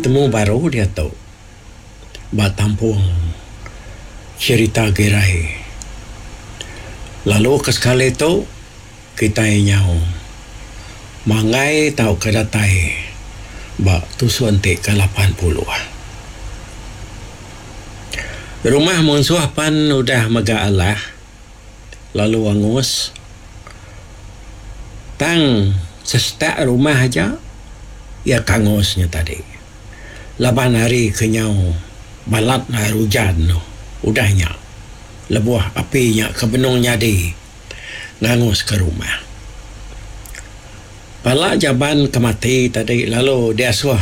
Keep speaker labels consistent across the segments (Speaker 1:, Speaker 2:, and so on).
Speaker 1: Betemu baru diatu ba tampung cherita Girai. Lalu ke sekali tu kitai nyau manggai tauka datai ba tusun ti ke 80. Rumah munsuh pan udah mega alah lalu angus. Tang sesetak rumah aja iya ke angus nya tadi. Laban hari ke nyau balat hari ujan tu udah nya lebuh api nya ke benung nyadi nganguska rumah. Pala jaban ke mati tadi lalu diasuh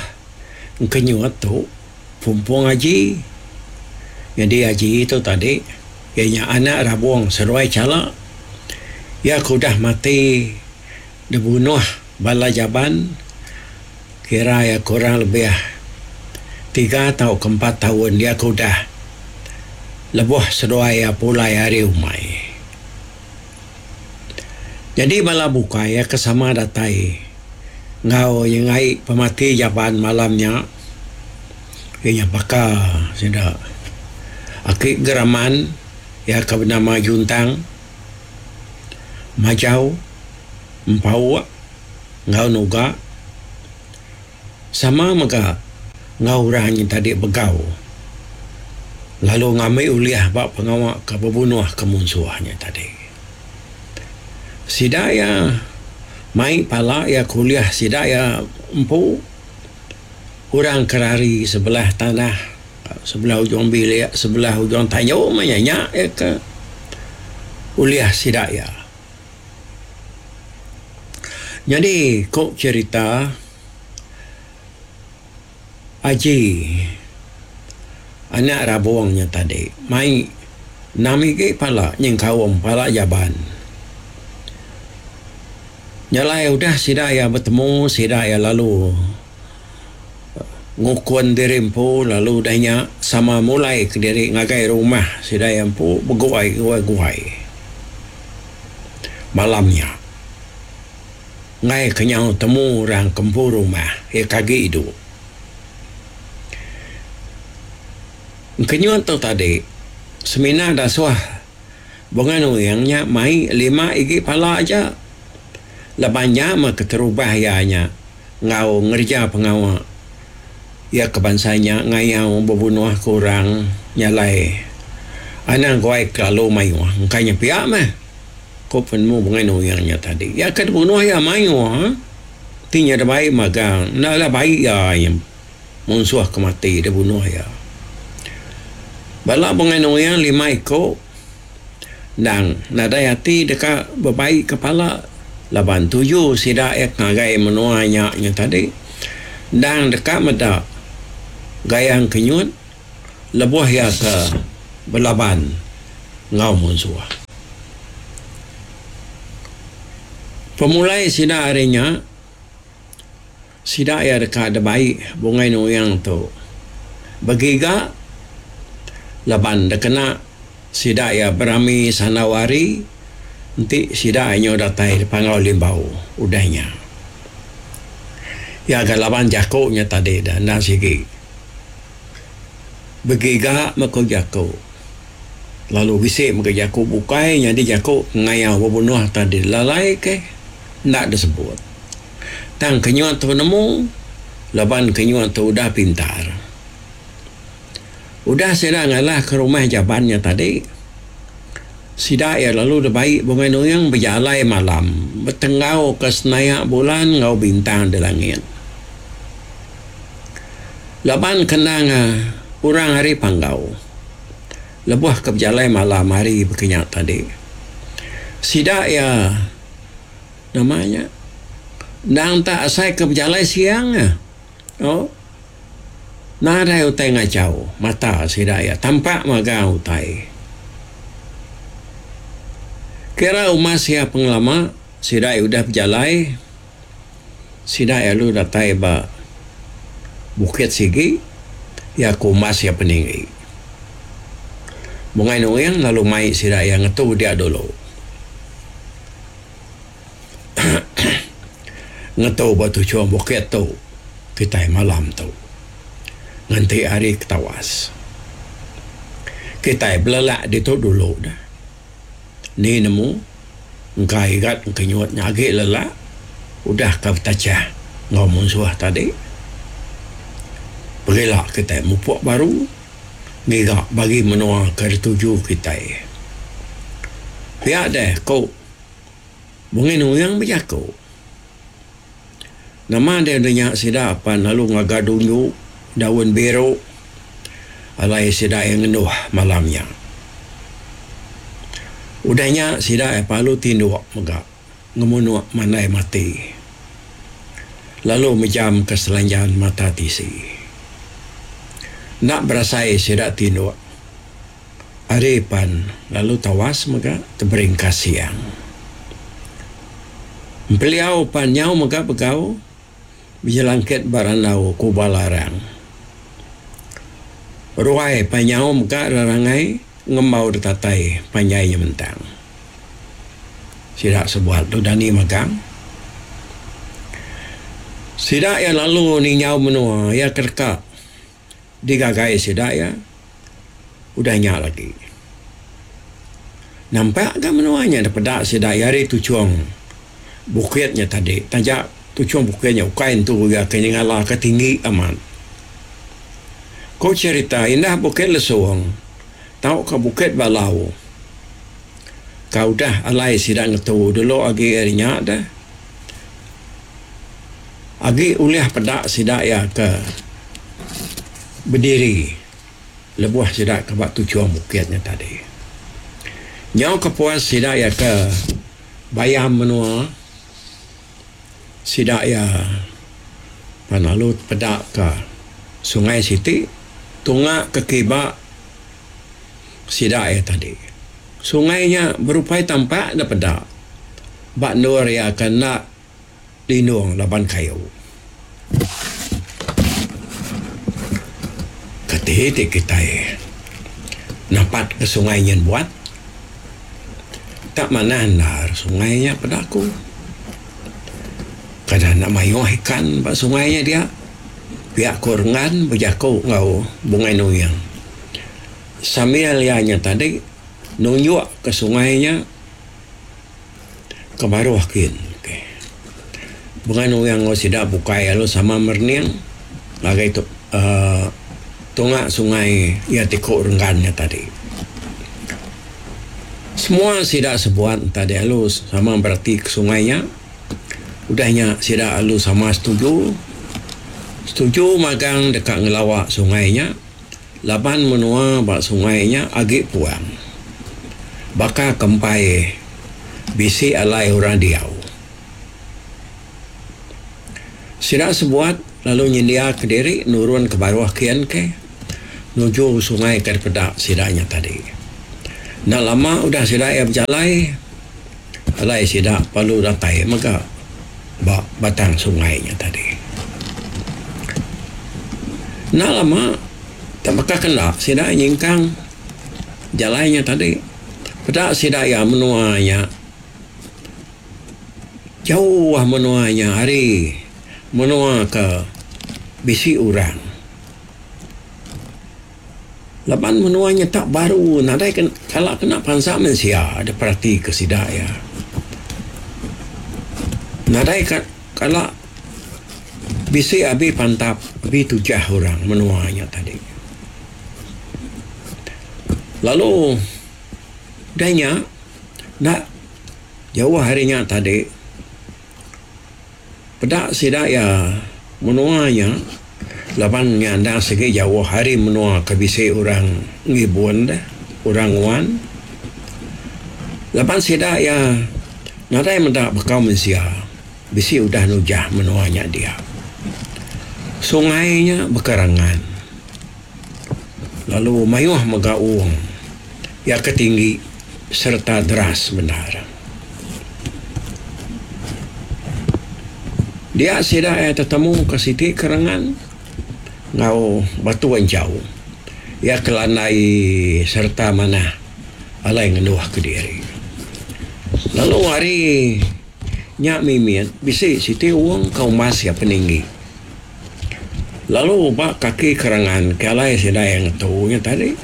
Speaker 1: engkenyut tu Pumpung Aji. Nyadi Aji tu tadi iya nya anak Rabong seduai Chala. Iya ke udah mati dibunuh bala jaban kira iya kurang lebih tiga tauka empat taun iya ke udah lebuh seduai iya pulai ari umai. Nyadi bala bukai iya ke sama datai enggau nyengai pemati jaban malam nya iya nya baka sida aki Geraman iya ke benama Juntang, Majau, Empauk enggau Nuga. Sama mega enggau orang nya tadi begau lalu ngambi ulih ba pengawa ke bebunuhka munsuh nya tadi. Sida iya mai pala iya ke ulih sida iya empu orang ke rari sebelah tanah sebelah ujung bilik sebelah ujung tanju meh nya nya iya ke ulih sida iya. Nyadi ku cherita Aji anak Rabong nya tadi mai enam igi pala nyengkaum pala Jaban. Nya alai udah sida iya betemu sida iya lalu ngukun diri empu lalu udah nya sama mulai kediri ngagai rumah sida iya empu beguai guai malam nya. Enggai ke nyau temu orang ke empu rumah iya ke agi idup. Engkenyut tu tadi semina dasuh Bunga Nuing nya mai lima igi pala aja laban nya meh keterubah iya nya enggau ngereja pengawa iya ke bansa nya ngayau bebunuh ke orang nya alai anang guai kelalu mayuh engka nya pia meh. Ku penemu Bungai Nuing nya tadi. Iya ke dibunuh iya mayuh ti nya dibai magang enda lah bai iya nya munsuh ke mati dibunuh iya. Bala Bungai Nuing lima iku endang nadai ati deka bebai ke pala laban tuju sida iya ke ngagai menua nya nya tadi endang deka meda gayang kenyut lebuh iya ke belaban enggau munsuh. Pemulai sida ari nya, sida iya deka dibai Bungai Nuing tu begiga laban dikena sida iya berami sandau hari enti sida iya nyau datai di Panggau Limbau udah nya. Iya ga laban jaku nya tadi da endang sigi begiga meh ku jaku. Lalu bisi mega jaku bukai nyadi jaku pengayau bebunuh tadi lalai ke enda disebut. Tang kenyut tu nemu laban kenyut tu udah pintar. Udah sida ngalahka rumah jaban nya tadi, sida iya lalu dibai Bungai Nuing bejalai malam betenggauka senayak bulan enggau bintang di langit. Laban kendang orang ari Panggau. Lebuh ke bejalai malam hari baka nya tadi, sida iya nama nya endang tak asai ke bejalai siang ah. Oh nadai utai ngachau mata sida iya tampak magang utai. Kira umas iya pengelama sida iya udah bejalai. Sida iya lalu datai ba bukit sigi, iya ke umbas iya peninggi. Bungai Nuing lalu mai sida iya ngetu dia dulu. Ngetu ba tuchung bukit tu kitai malam tu. Nganti hari ke tawas. Kitai belelak ditu dulu dah. Ni nemu engka igat engka nyut nya agi lelak udah ka betachah enggau munsuh tadi. Pegila kitai mupuk baru ngiga bagi menua ke dituju kitai. Pia deh ku Bungai Nuing bejaku. Nama deh udah nya sida pan lalu ngaga dunju daun biru alai sida iya ngenduh malam nya. Udah nya sida iya parlu tinduk mega ngemunuk mandai mati lalu mejam ke selanjan mata tisi. Enda berasai sida tinduk. Ari pan lalu tawas mega teberingkas siang. Empeliau pan nyau mega begau bejelangkit ba randau kuba larang. Ruai pan nyau mega rerangai ngembau ditatai panjai nyementang. Sida sebuat tu dani magang. Sida iya lalu ninjau menua iya ke deka digagai sida iya. Udah nya lagi. Nampak ga menua nya dipeda sida iya ari tuchung bukit nya tadi. Taja tuchung bukit nya ukai entu iya ke nyengala ke tinggi amat. Ku cherita indah Bukit Lesung tauka Bukit Balau ka udah alai sida ngetu dulu agi ari nya deh agi ulih peda sida iya ke bediri. Lebuh sida ke ba tuchung bukit nya tadi. Nyau ke puas sida iya ke bayam menua, sida iya pan lalu tepeda ka sungai siti tunga ke kiba sida iya tadi. Sungai nya berupai tampak da peda ba endur iya ke enda lindung laban kayu. Kati ti kitai napat ke sungai nyin buat tak manah endar sungai nya peda aku. Kada enda mayuh ikan ba sungai nya dia pia ku Renggan bejaku enggau Bungai Nuing. Sambil iya nya tadi nunjuk ke sungai nya. Ke baruh kin ke. Bengan orang enggau sida bukai lalu sama merening ngagai tu uhh tunga sungai iya ti ku Renggan nya tadi. Semua sida sebuat tadi lalu sama berati ke sungai nya. Udah nya sida lalu sama setuju. Setuju magang deka ngelawa sungai nya. Laban menua ba sungai nya agi puang. Baka ke empai bisi alai orang diau. Sida sebuat lalu nyendiaka diri nurun ke baruh kin ke nuju sungai ke dipeda sida nya tadi. Enda lama udah sida iya bejalai, alai sida perlu datai mega ba batang sungai nya tadi. Enda lama tak baka kenda sida nyingkang jalai nya tadi peda sida iya menua nya jauh menua nya ari menua ke bisi orang. Laban menua nya tak baru nadai kala kena pansa mensia da perati ke sida iya. Nadai kala bisi abi pantap abi tujah orang menua nya tadi. Lalu udah nya enda jauh ari nya tadi Peda sida iya menua nya laban nya endang sigi jauh ari menua ke bisi orang ngibun deh, orang nguan. Laban sida iya nadai meda bekau mensia bisi udah nujah menua nya dia. Sungai nya bekerangan lalu mayuh mega wong iya ke tinggi sereta deras bendar. Dia sida iya tetemu ke siti kerengan enggau batu enchau. Iya ke landai sereta manah alai ngenduh kediri. Lalu ari nya mimit bisi siti wong ke umbas iya peninggi. Lalu ba kaki kerangan ke alai sida iya ngetu nya tadi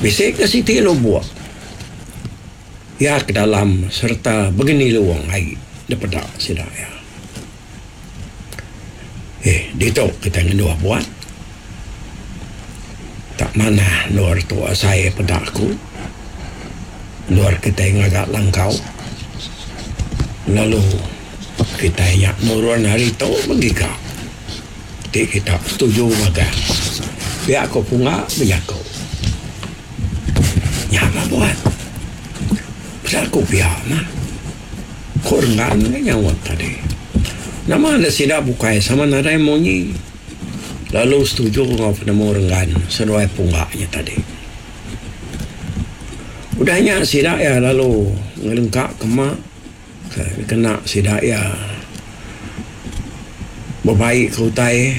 Speaker 1: bisi ke siti lubok iya ke dalam sereta begenilung ai dipeda sida iya. Eh ditu kitai ngenduh buat tak manah endur tu asai peda aku endur kitai ngaga langkau lalu kitai nya nurun hari tu menggiga. Ti kita setuju magang. Pia ko Punga bejaku. Nya mah buat. Pasal ku pia mah. Ku Renggan ga nyaut tadi. Nama enda sida bukai sama nadai munyi. Lalu setuju enggau penemu Renggan seduai Pungga nya tadi. Udah nya sida iya lalu ngelengka ke ma. Kena sida iya bebai ke utai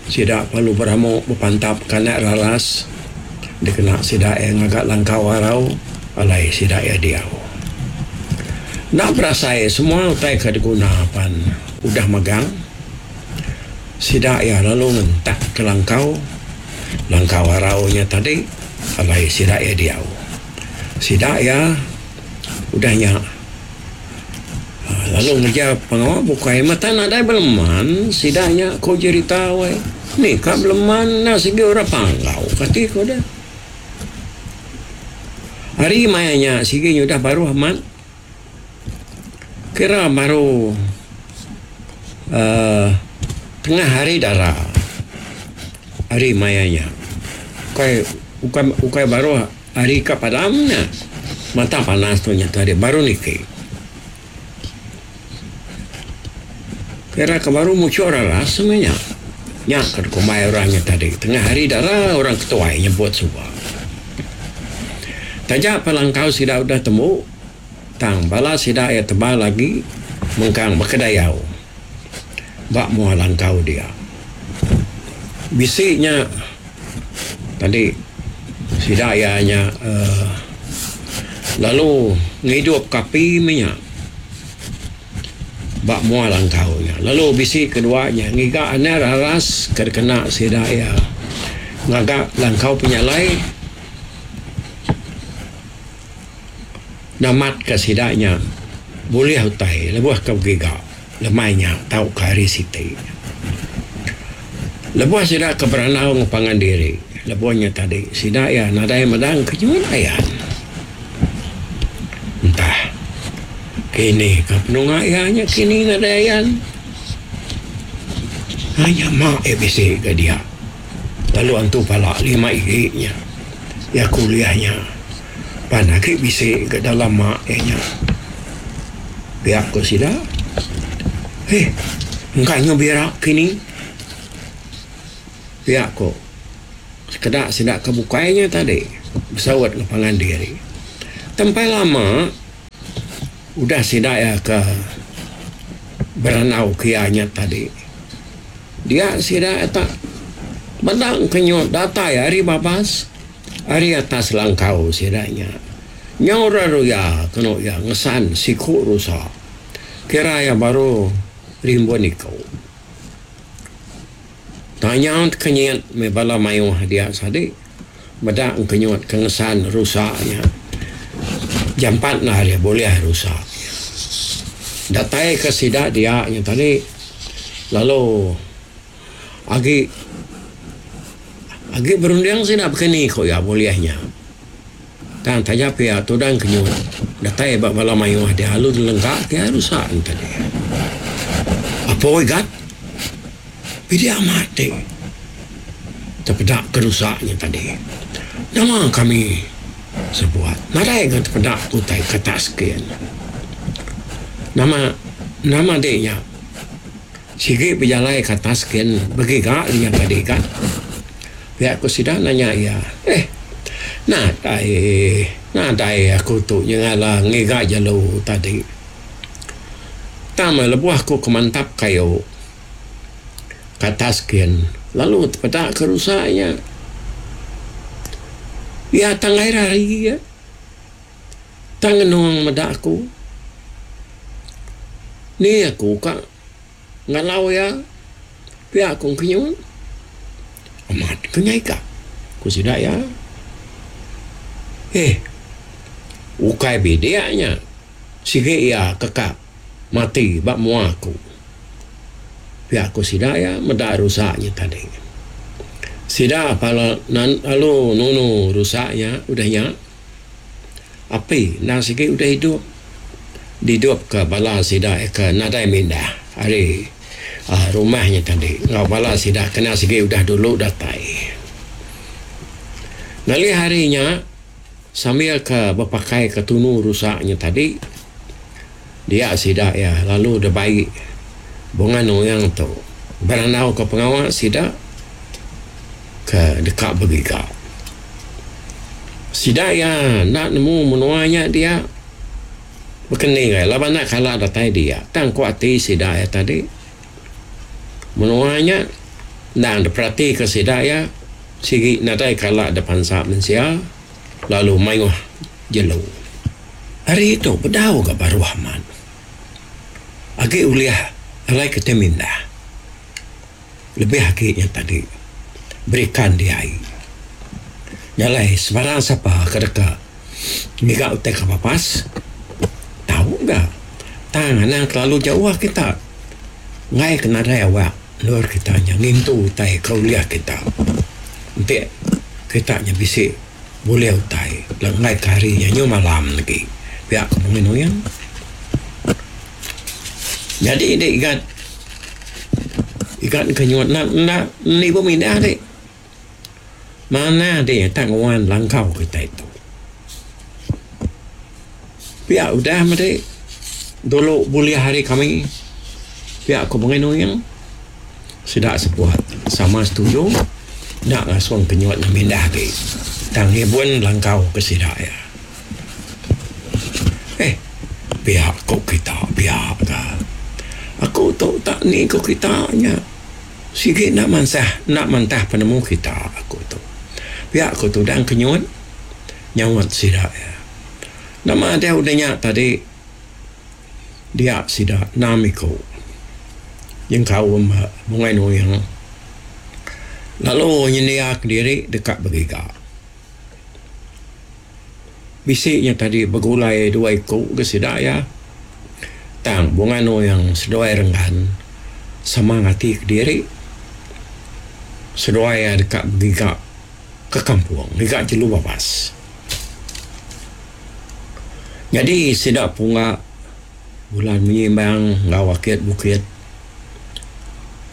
Speaker 1: sida perlu beramu bepantap ke anak raras dikena sida iya ngaga langkau arau alai sida iya diau. Enda berasai semua utai ke diguna pan udah megang sida iya lalu ngentak ke langkau, langkau arau nya tadi alai sida iya diau. Sida iya. Udah nya, lalu ngereja pengawa bukai mata nadai beleman sida nya ku jerita weh. Ni ka beleman enda sigi orang panggau kati ku deh. Hari maya nya sigi nyudah baruh amat kira baru uhh tengah hari dara hari maya nya. Ukai ukai ukai baruh. Ari ka padam nya, mata panas tu nya tadi baru niki. Kira ke baru muchur raras meh nya. Nya ke dikumbai orang nya tadi tengah hari dara orang ketuai nyebut suba. Taja pa langkau sida udah tembu tang bala sida iya tebal agi mengkang bekedayau ba mua langkau dia. Bisi nya tadi sida iya nya uhh lalu ngidup ka api meh nya ba mua langkau nya. Lalu bisi kedua nya ngiga anak raras ke dikena sida iya ngaga langkau penyalai namat ka sida nya bulih utai lebuh ke begiga. Lemai nya tauka hari siti. Lebuh sida ke berandau enggau pangan diri lebuh nya tadi sida iya nadai meda engkenyut ayan. Entah kini ka penunga iya nya kini nadai ayan. Ai nya ma iya bisi ga dia lalu antu pala lima igi nya iya kuliah nya. Pan agi bisi ga dalam ma iya nya. Pia ku sida. Heh engka nyu bira kini. Pia ku sekeda sida ke bukai nya tadi besaut enggau pangan diri. Tempai lama udah sida iya ke berandau ke iya nya tadi. Dia sida tak meda engkenyut datai ari babas. Ari atas langkau sida nya, nyau ra ruya kenu iya ngesan siku rusa. Kira iya baru rimbun iku. Tanya tekenyit meh bala mayuh dia sadi meda engkenyut ke ngesan rusa nya. Jampat enda iya bulih rusa nya. Datai ke sida dia nya tadi lalu. Agi agi berunding sida bekeni ku iya bulih nya. Tang taja pia tudang kenyut datai ba bala mayuh dia lalu dilengka ke iya rusa ne tadi. Apo igat pidi amat ti tepeda ke rusa nya tadi. Nama kami sebuat nadai ga tepeda ke utai ke atas kin. Nama nama di nya. Sigi bejalai ke atas kin begiga inya tadi ga. Pia ku sida nanya iya. Eh nadai nadai aku tu nyengala ngiga jelu tadi. Tang meh lebuh aku ke mantap kayu ke atas kin lalu tepeda ke rusa nya. Iya tanggai rari iya. Tang ngenung meda aku. Ni aku ka ngalau iya pia ku engkenyut. Amat ke nya ika, ku sida iya. Eh, ukai bidik nya sigi iya ke ka mati ba mua aku. Pia ku sida iya meda rusa nya tadi. Sida pala lalu nunu rusa nya udah nya. Api endang sigi udah idup didupka bala sida ke nadai mindah ari uhh rumah nya tadi enggau bala sida ke enda sigi udah dulu datai. Ngalih hari nya sambil ke bepakai ke tunu rusa nya tadi dia sida iya lalu dibai Bunga Nuing tu berandau ke pengawa sida ke deka begiga. Sida iya enda nemu menua nya dia bekeni gai laban enda kala datai dia. Tang ku ati sida iya tadi menua nya endang diperatika sida iya sigi nadai kala da pansa mensia lalu mayuh jelu. Hari tu bedau ga baruh amat. Agi ulih alai kitai mindah. Lebih agi nya tadi berikan di ai. Nya alai sebarang sapa ke deka ngiga utai ke babas tau ga tang anang kelalu jauh kita enggai ke nadai awak endur kita nya ngintu utai ke ulih kita. Enti kita nya bisi bulih utai enggai ke hari nya nyu malam lagi pia ku Mungin Uyang. Nyadi indi igat igat ke nyuat enda enda nibu mindah ti. Manah ti tak nguan langkau kitai tu. Pia udah meh ti dulu bulih ari kami pia ku Mungin Uyang sida sebuat sama setuju enda ngasung ke nyuat mindah agi tang ngibun langkau ke sida iya. Eh, pia ku kita pia ka. Aku tu tak ni ku kita nya. Sigi enda mansah enda mantah penemu kita aku tu. Pia ku tudang kenyut nyaut sida iya. Nama deh udah nya tadi dia sida enam iku nyengkaum Bungai Nuing lalu nyendia kediri deka begiga. Bisi nya tadi begulai dua iku ga sida iya. Tang Bunga Nuing seduai Renggan sama ngati kediri. Seduai iya deka begiga ke kampung ngiga jelu babas. Nyadi sida pungga bulan menyimbang enggau akit bukit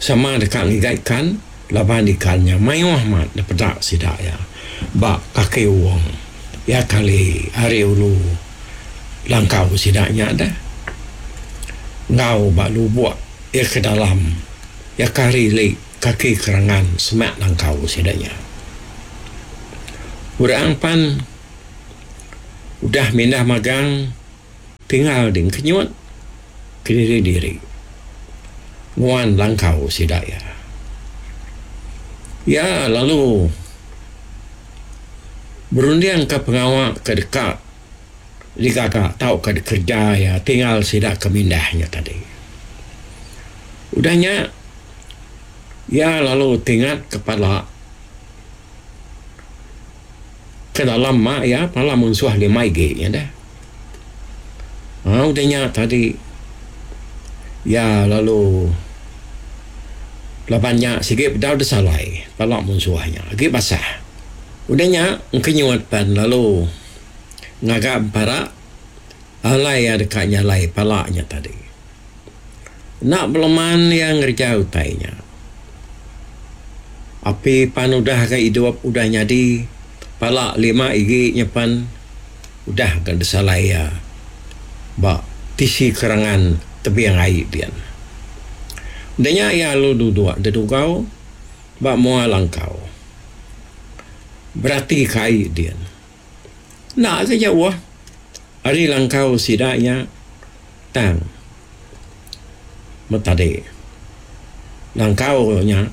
Speaker 1: sama deka ngiga ikan laban ikan nya mayuh amat dipeda sida iya ba kaki wong iya kali ari ulu langkau sida nya deh enggau ba lubok iya ke dalam iya ke ari ili kaki kerangan semak langkau sida nya. Orang pan udah mindah magang. Tinggal ding kenyut kediri diri nguan langkau sida iya. Iya lalu berundingka pengawa ke deka digaga tauka dikereja iya tinggal sida ke mindah nya tadi. Udah nya iya lalu tingat kepala Ke dalam ma iya pala munsuh lima igi nya deh. Aa udah nya tadi iya lalu laban nya sigi bedau deh salai pala munsuh nya agi basah. Udah nya engkenyut pan lalu ngaga empara alai iya deka nyalai pala nya tadi. Enda beleman iya ngereja utai nya. Api pan udah ga idup udah nyadi pala lima igi nya pan udah ga disalai iya ba tisi kerangan tebing ai din. Udah nya iya lalu duduk dedugau ba mua langkau berati ka ai din. Enda ga jauh ari langkau sida nya tang metadi. Langkau nya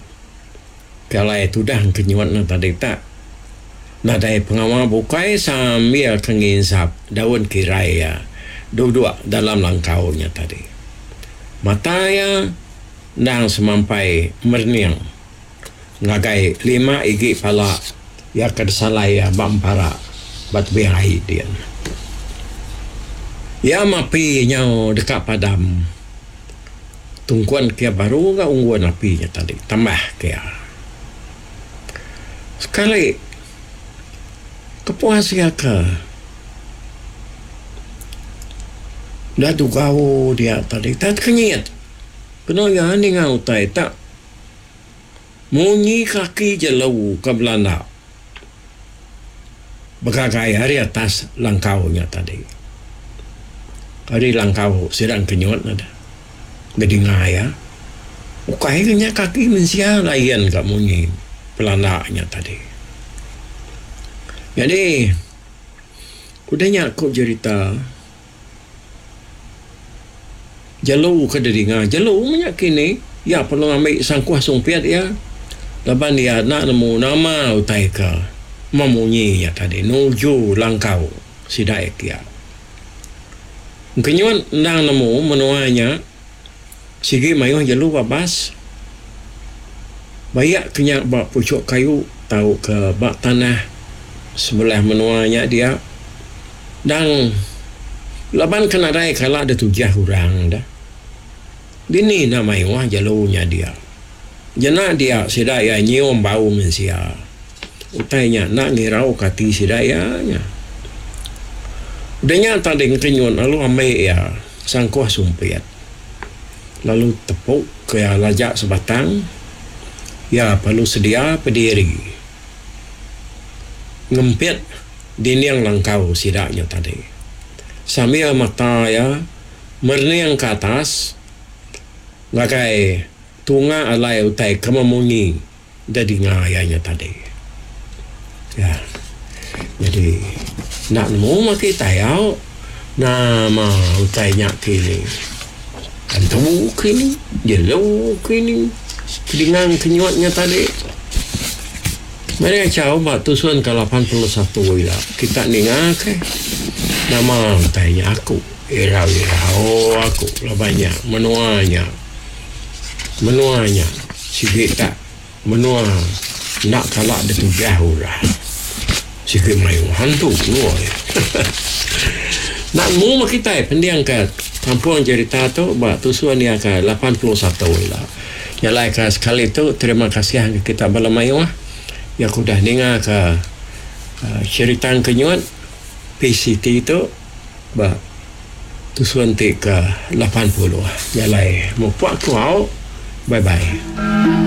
Speaker 1: ke alai tudah kenyut ne tadi tak nadai pengawa bukai sambil ke nginsap daun kirai iya duduk dalam langkau nya tadi. Mata iya endang semampai merening. Ngagai lima igi pala iya ke disalai iya ba empara ba tebing ai din. Iya mapi nyau deka padam tungkun ke iya baru ga unggun api nya tadi tambah ke iya. Sekali kepuas iya ke udah dugau dia tadi tak tekenyit kenu iya ninga utai tak. Munyi kaki jelu ke belanda begagai ari atas langkau nya tadi. Ari langkau sida engkenyut ne deh bedinga iya. Ukai ke nya kaki mensia lain ka munyi pelanda nya tadi. Nyadi udah nya ku jerita. Jelu ke didinga jelu meh nya kini iya perlu ngambi sangkuh sumpit iya laban iya enda nemu nama utai ke memunyi nya tadi nuju langkau sida iya kiya. Engkenyut endang nemu menua nya sigi mayuh jelu babas bayak ke nya ba puchuk kayu tauka ba tanah sebelah menua nya dia. Dang laban ke nadai kala ditujah orang da. Dini enda mayuh jelu nya dia. Jena dia sida iya nyium bau mensia. Utai nya enda ngirauka ati sida iya nya. Udah nya tadi ngekenyut lalu ambi iya sangkuh sumpit lalu tepu ke iya laja sebatang iya perlu sedia pediri ngempit. Dinding langkau sida nya tadi. Sambil mata iya merening ke atas ngagai tunga alai utai ke memunyi da dinga iya nya tadi. Ya. Nyadi enda nemu meh kitai au nama utai nya kini. Antu kini, jelu kini, dinga kenyut nya tadi. Meri achau ba tusun ke 81 ila kita ninga ke nama utai nya aku irau irau aku laban nya menua nya menua nya sigi tak menua enda kala ditujah orang sigi mayuh hantu woi enda nemu meh kitai pending ka kampung jerita tu ba tusun iya ke 81 ila. Nya alai ka sekali tu terima kasih ngagai kita bala mayuh iya ke udah ninga ka cherita engkenyut PCT tu ba tusun ti ke 80. Nya alai mupuk ku au. Bye bye.